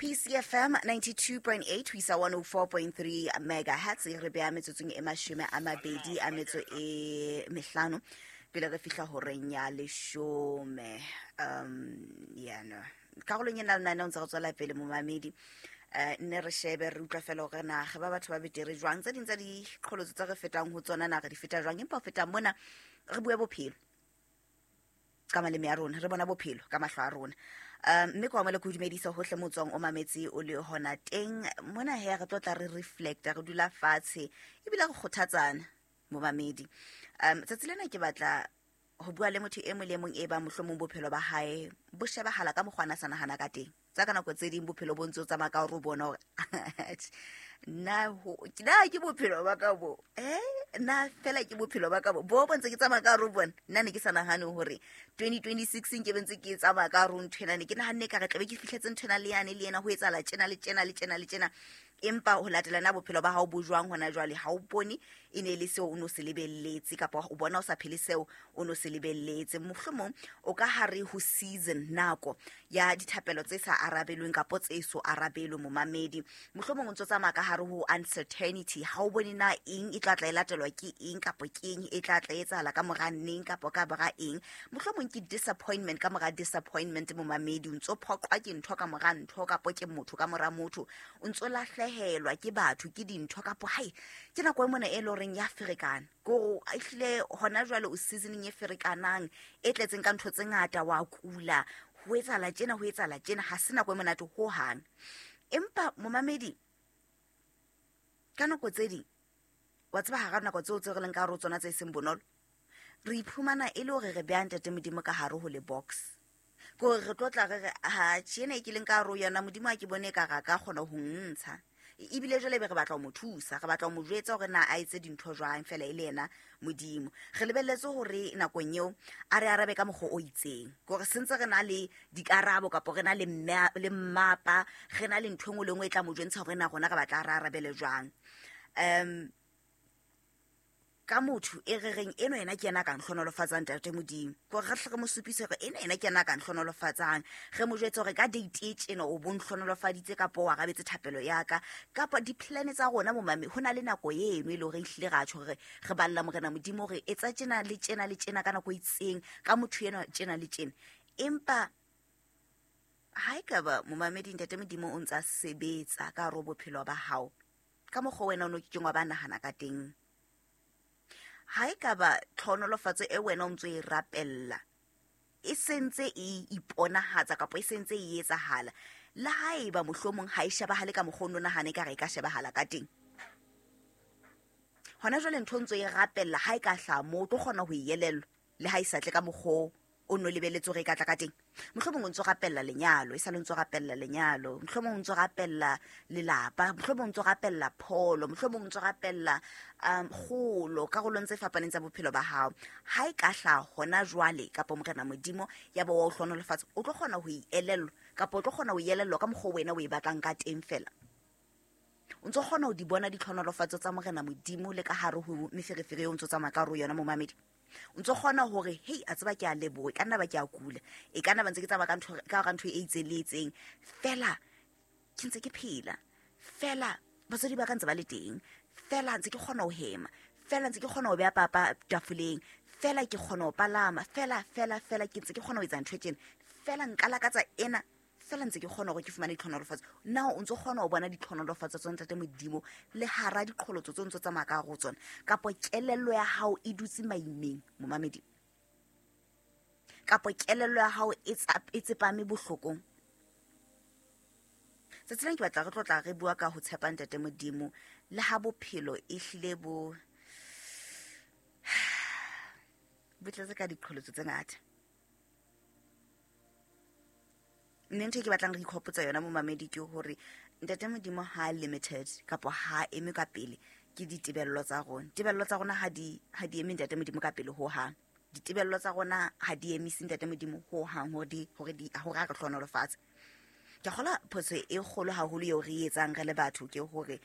PCFM 92.8 ho isa 104.3 megahertz. Re beha metsotsong e 25 pele re fihla horeng ya 10. Yana karolong ena lenaneo ntse re tswela pele momamedi. Nne re shebe re utlwa fela hore na re ba batho ba betere jwang, tse ding tsa diqholotso tse re fetang ho tsona na re di feta jwang, empa ho feta mona re bue bophelo ka maleme a rona, re bona bophelo ka mahlo a rona. Mme kwa mole ke o dumedisa hohle mo tswang o mametse o le hona teng mona. He re tlo tla re reflecta, re dula fatshe ebile re kgothatsana momamedi. Tsatsi lena ke batla ho bua le motho e mong le mong e bang mohlomong bophelo ba hae bo shebahala ka mokgwa a na sa nahana ka teng. Tsa ka nako tse ding bophelo bo ntse o tsamaya ka hore o bona hore nna ke bophelo ba ka bo, nna fela ke bophelo ba ka bo bo ntse ke tsamaya ka hore o bona. Nna ne ke sa nahane hore 2026 nke be ntse ke tsamaya ka hore nthwena, ne ke nahanne ka re tlabe ke fihletse nthwena le yane le yena ho etsahala tjena le tjena le tjena le tjena, empa ho latela na bophelo ba hao bo jwang hona jwale, ha o bone e ne le seo o no se lebelletse, kapa o bona o sa phele seo o no se lebelletse. Mohlomong o ka hare ho season, nako ya dithapelo tse sa arabelweng kapa tse so arabelwe momamedi. Mohlomong o ntso tsamaya ka hare ho uncertainty, ha o bone na eng e tla tla e latelwa ke eng, kapa ke eng e tla tla etsahala ka mora neng kapa ka mora eng. Mohlomong ke disappointment ka mora disappointment momamedi, o ntso phoqwa ke ntho ka mora ntho, kapa ke motho ka mora motho, o ntso lahlehelwa ke batho ke dintho, kapa hai ke nako e mona e leng horeng ya ferekana. Ko ehlile hona jwale o seasoning e ferekanang e tletseng ka ntho tse ngata, wa kula, ho etsahala tjena, ho etsahala tjena, ha se nako e monate ho hang. Empa momamedi, ka nako tse ding wa tseba hara nako tseo tse re leng ka hare ho tsona tse seng bonolo, re iphumana e le hore re beha Ntate Modimo ka hare ho le box. Ke hore re tlo tla re re, ha tjena e ke leng ka hare ho yona, Modimo ha ke bone e ka re a ka kgona ho ntsha. Ebile jwale be re batla ho mo thusa, re batla ho mo jwetsa hore na a etse dintho jwang fela e le yena Modimo. Re lebelletse hore nakong eo a re arabe ka mokgwa o itseng, ke hore sentse re na le dikarabo kapa re na le le mmapa, re na le ntho e nngwe le nngwe e tla mo jwentsha hore na rona re batla re arabele jwang. Ka motho e re reng eno yena ke yena a ka nhlonolofatsang Ntate Modimo, ke hore re hle re mo supise hore ena yena ke yena a ka nhlonolofatsang, re mo jwetse hore ka date e tjena o bo nhlonolofaditse kapa o arabetse thapelo ya ka, kapa di-plan tsa rona momame. Ho na le nako eno e le hore ehlile ra tjho hore re balla Morena Modimo hore etsa tjena le tjena le tjena ka nako e itseng ka motho enwa tjena le tjena. Empa ha ekaba momamedi Ntate Modimo o ntsa sebetsa ka hare ho bophelo ba hao ka mokgwa wena o no kekeng wa ba nahana ka teng, ha ekaba tlhonolofatso e wena o ntso e rapella e sentse e iponahatsa kapa e sentse e etsahala, le haeba mohlomong ha e shebahale ka mokgwa o no nahane ka re e ka shebahala ka teng, hona jwale ntho ntso e rapella ha e ka hlaha moo o tlo kgona ho e elellwa le ha e sa tle ka mokgwa o no lebeletse hore e ka tla ka teng. Mohlomong o ntso rapella lenyalo, e sa le ntso rapella lenyalo, mohlomong o ntso rapella lelapa, mohlomong o ntso rapella pholo, mohlomong o ntso rapella kgolo karolong tse fapaneng tsa bophelo ba hao. Ha e ka hlaha hona jwale kapa Morena Modimo ya ba wa o hlohonolofatsa, o tlo kgona ho e elellwa kapa o tlo kgona ho e elellwa ka mokgwa wena o e batlang ka teng fela. O ntso kgona ho di bona ditlhonolofatso tsa Morena Modimo le ka hare ho meferefere eo o ntso tsamaya ka hare ho yona momamedi. O ntso kgona hore hei a tseba ke a leboha, e ka nna ba ke a kula, e ka nna ba ntse ke tsamaya ka ntho, ka hara ntho e itseng le itseng, fela ke ntse ke phela, fela batswadi ba ka ntse ba le teng, fela ntse ke kgona ho hema, fela ntse ke kgona ho beha papa tafoleng, fela ke kgona ho palama, fela fela fela ke ntse ke kgona ho etsa ntho e tjena, fela nka lakatsa ena, fela ntse ke kgona hore ke fumane ditlhonolofatso. Na o ntso kgona ho bona ditlhonolofatso tsa Ntate Modimo le hara diqholotso tse o ntso tsamaya ka hare ho tsona, kapa kelello ya hao e dutse maimeng momamedi, kapa kelello ya hao e tsepame bohlokong? Tsatsi lena ke batla re tlo tla re bua ka ho tshepa Ntate Modimo le ha bophelo e hlile bo bo tletse ka diqholotso tse ngata. Mme ntho e ke batlang re ikhopotsa yona momamedi ke hore Ntate Modimo ha limited kapa ha eme ka pele ke ditebello tsa rona. Tebello tsa rona ha di eme Ntate Modimo ka pele ho hang. Ditebello tsa rona ha di emise Ntate Modimo ho hang hore a re hlohonolofatse. Ke kgolwa phoso e kgolo haholo eo re e etsang re le batho ke hore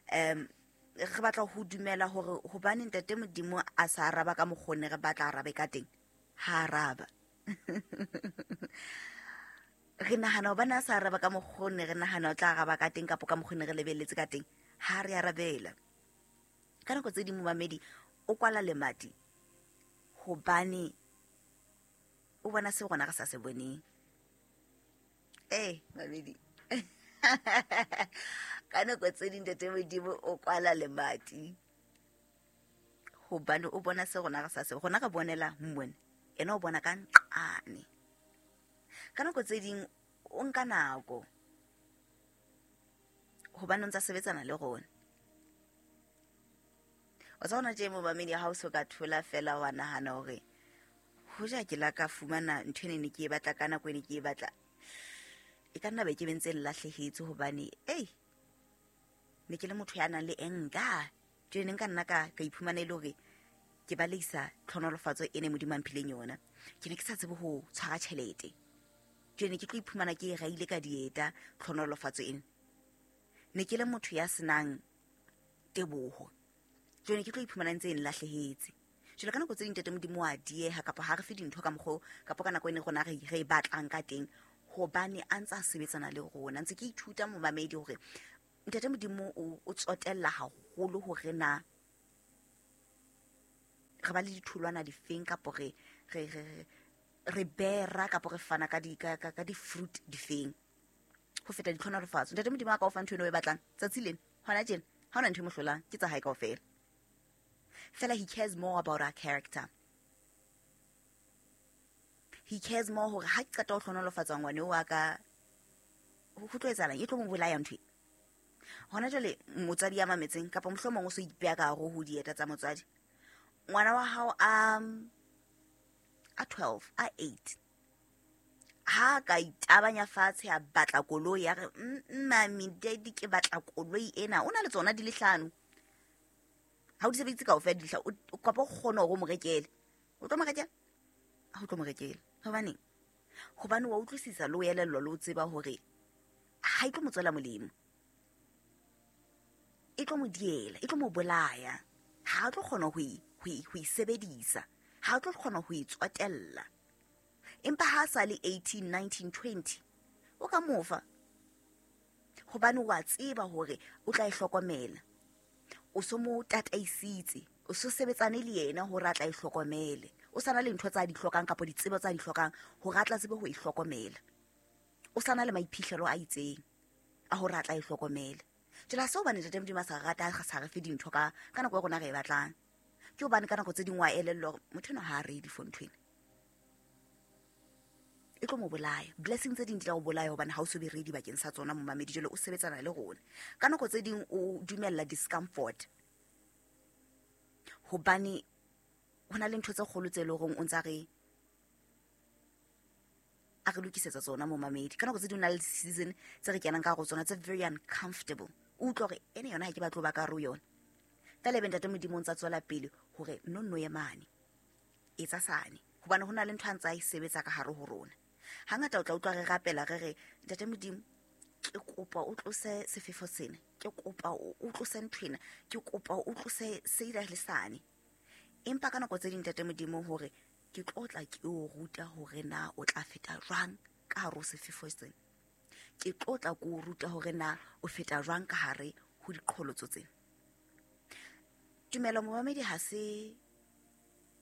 re batla ho dumela hore hobane Ntate Modimo a sa araba ka mokgwa o ne re batla arabe ka teng, ha araba. Re nahana hobane a sa araba ka mokgwa o ne re nahana o tla araba ka teng kapo ka mokgwa o ne re lebelletse ka teng, ha re arabela. Ka nako tse ding momamedi o kwala lemati hobane o bona seo rona re sa se boneng. Ee, mamedi. Ka nako tse ding Ntate Modimo o kwala lemati hobane o bona se rona re sa se, rona re bonela mmone, ena o bona ka nqane. Ka nako tse ding o nka nako hobane o ntsa sebetsana le rona. O tsa bona tje momamedi, ha o so ka thola fela wa nahana hore hoja ke la ka fumana ntho ene ne ke e batla ka nako ene ke e batla, e ka nna be ke bentse lahlehetse hobane ei ne ke le motho ya nang le enka. Jwale ne nka nna ka iphumana e le hore ke baleisa tlhonolofatso e ne Modimo a mphileng yona. Ke ne ke sa tsebe ho tshwara tjhelete. Jwale ne ke tlo iphumana ke e raile ka dieta tlhonolofatso ena. Ne ke le motho ya senang teboho. Jwale ne ke tlo iphumana ntse e nlahlehetse. Jwale ka nako tse ding Ntate Modimo wa dieha kapa ha re fe dintho ka mokgwa kapa ka nako e ne rona re e batlang ka teng, hobane a ntse a sebetsana le rona. Ntse ke ithuta momamedi hore Ntate Modimo o tsotella haholo hore na re ba le ditholwana difeng kapo re bera kapo re fana ka di-fruit difeng ho feta ditlhonolofatso. Ntate Modimo a ka o fa ntho eno o e batlang tsatsi lena hona tjena, ha hona ntho e mo hlolang, ke tsa hae kaofela. Fela he cares more about our character. He cares more hore ha ke qeta ho hlonolofatsa ngwane wa ka, ho tlo etsahalang, e tlo mo bolaya ntho e. Hona jwale motswadi ya mametseng kapa mohlomong o so ipeya ka hare ho dieta tsa motswadi, ngwana wa hao a 12, a 8, ha ka itabanya fatshe a batla koloi ya re, mami, daddy, ke batla koloi ena. O na le tsona di le hlano, ha o di sebedise kaofela di le hlano, o kapa o kgone hore o mo rekele. O tlo mo rekela? Ha o tlo mo rekela. Hobaneng? Hobane wa utlwisisa le o elellwa le o tseba hore ha e tlo mo tswela molemo, e tlo mo diela, e tlo mo bolaya. Ha a tlo kgona ho e sebedisa, ha a tlo kgona ho e tsotella. Empa ha sa le 18, 19, 20, o ka mofa hobane wa tseba hore o tla e hlokomela. O so mo tataisitse, o so sebetsane le yena hore a tla e hlokomele. O sana le ntho tsa di hlokang kapa ditsebo tsa di hlokang hore a tla tsebe ho e hlokomela. O sana le maiphihlelo a itseng a hore a tla e hlokomele. Jwale ha se hobane Ntate Modimo a sa rata, a sa re fe dintho ka nako e rona re e batlang. Ke hobane ka nako tse ding wa elellwa hore motho enwa ha a ready for ntho ena, e tlo mo bolaya. Blessing tse ding di tla o bolaya hobane ha o so be ready bakeng sa tsona momamedi. Jwale o sebetsana le rona. Ka nako tse ding o dumella discomfort hobane ho na le ntho tse kgolo tse leng hore o ntsa re a re lokisetsa tsona momamedi. Ka nako tse ding o na le season tse re kenang ka hare ho tsona tse very uncomfortable. O utlwa hore ene yona ha ke batle ho ba ka hare ho yona. Fela ebe Ntate Modimo o ntsa tswela pele hore no nno ye mane, etsa sane, hobane ho na le ntho a ntsa e sebetsa ka hare ho rona. Hangata o tla utlwa re rapela re re, Ntate Modimo, ke kopa o tlose sefefo sena, ke kopa o tlose ntho ena, ke kopa o tlose sena le sane. Empa ka nako tse ding Ntate Modimo hore ke tlo tla ke o ruta hore na o tla feta jwang ka hare ho sefefo sena, ke tlo tla ke o ruta hore na o feta jwang ka hare ho diqholotso tsena. Tumelo momamedi ha se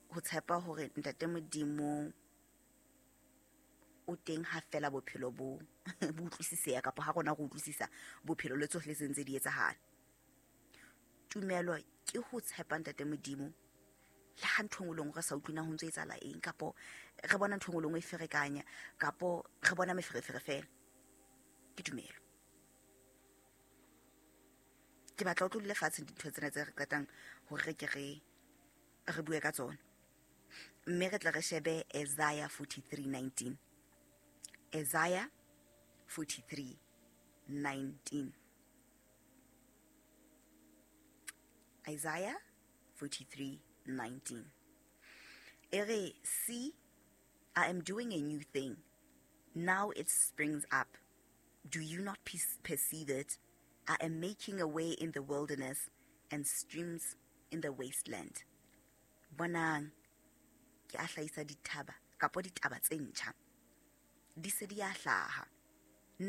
ho tshepa hore Ntate Modimo o teng ha fela bophelo bo bo utlwisiseha kapa ha rona re utlwisisa bophelo le tsohle tse ntse di etsahala. Tumelo ke ho tshepa Ntate Modimo le ha ntho e nngwe le nngwe re sa utlwe na ho ntso etsahala eng, kapo re bona ntho e nngwe le nngwe e ferekanya, kapo re bona meferefere fela. Ke tumelo. Ke batla o tlo dule fatshe dintho tsena tse re qetang hore re ke re bue ka tsona. Mme re tla re shebe Isaiah 43:19. Isaiah 43:19. Isaiah 43:19. E re, see, I am doing a new thing. Now it springs up. Do you not perceive it? I am making a way in the wilderness and streams in the wasteland. Bonang, ke a hlahisa dithaba kapo ditaba tse ntjha. Di se di a hlaha.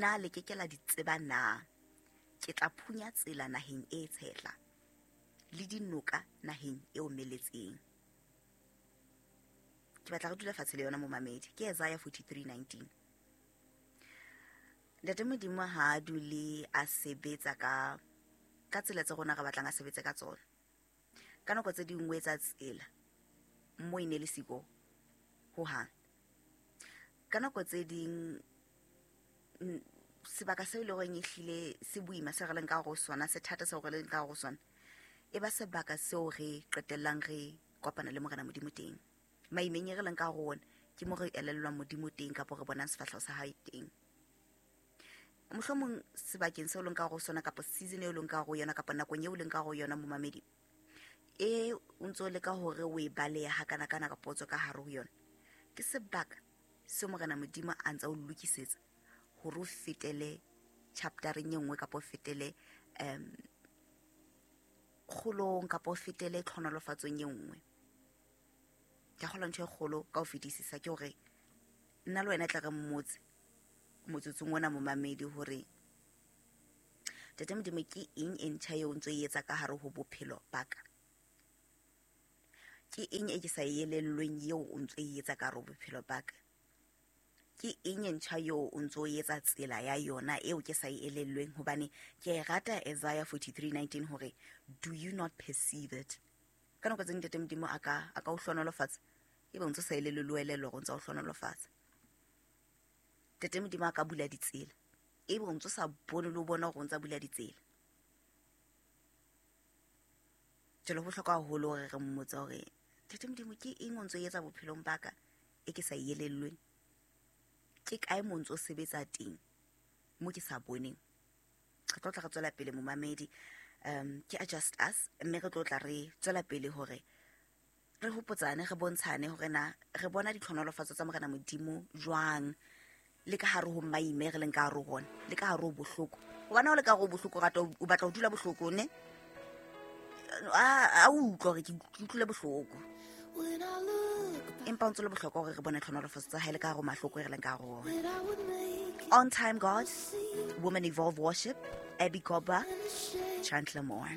Na le ke ke la di tseba na? Ke tla phunya tsela naheng e tshehla, le dinoka naheng e omeletseng. Ke batla re dule fatshe le yona momamedi. Ke Isaiah 43:19. Ntate Modimo ha a dule a sebetsa ka tsela tse rona re batlang a sebetse ka tsona. Ka nako tse ding o etsa tsela mo e ne le siko hohang. Ka nako tse ding sebaka seo e leng horeng ehlile se boima se re leng ka hare ho sona, se thata seo re leng ka hare ho sona, e ba sebaka seo re qetellang re kopana le Morena Modimo teng. Maimeng e re leng ka hare ho ona ke mo re elellwang Modimo teng kapa re bonang sefahleho sa hae teng. Mohlomong sebakeng seo leng ka hare ho sona kapa season eo leng ka hare ho yona kapa nakong eo leng ka hare ho yona momamedi, e o ntso leka hore o e balehe hakana-kana kapa o tswe ka hare ho yona, ke sebaka seo Morena Modimo a ntsa o lokisetsa hore o fetele chaptereng e nngwe kapa o fetele kgolong kapa o fetele tlhonolofatsong e nngwe. Ke a kgolwa ntho e kgolo ka ho fetisisa ke hore nna le wena tla re mmotse motsotsong ona momamedi hore Ntate Modimo ke eng e ntjha eo o ntso e etsa ka hare ho bophelo ba ka? Ke eng e ke sa e elellweng eo o ntso e etsa ka hare ho bophelo ba ka? Ke eng e ntjha eo o ntso e etsa tsela ya yona eo ke sa e elellweng? Hobane ke e rata Isaiah 43:19 hore do you not perceive it? Ka nako tse Ntate Modimo a ka o hlohonolofatsa, ebe o ntso sa elellwe le o elellwa hore o ntso o hlohonolofatsa. Ntate Modimo a ka bula ditsela, ebe o ntso sa bone le o bona hore o ntsa bula ditsela. Jwale ho bohlokwa haholo hore re mmotse hore Ntate Modimo ke eng o ntso e etsa bophelong ba ka e ke sa e elellweng? Ke kae mo ntso sebetsa teng mo ke sa boneng? Re tlo tla re tswela pele momamedi, ke Adjust Us, mme re tlo tla re tswela pele hore re hopotsane, re bontshane hore na re bona ditlhonolofatso tsa Morena Modimo jwang le ka hare ho maime re leng ka hare ho ona, le ka hare ho bohloko. Hobane ha o le ka hare ho bohloko, o batla ho dula bohloko, ne? A o utlwa hore ke utlwile bohloko. Empa o ntse le bohlokwa hore re bone tlhonolofatso tsa hae le ka hare ho mahloko e re leng ka hare ho ona. On Time God, Women Evolve Worship, Abby Koba, Chandler Moore.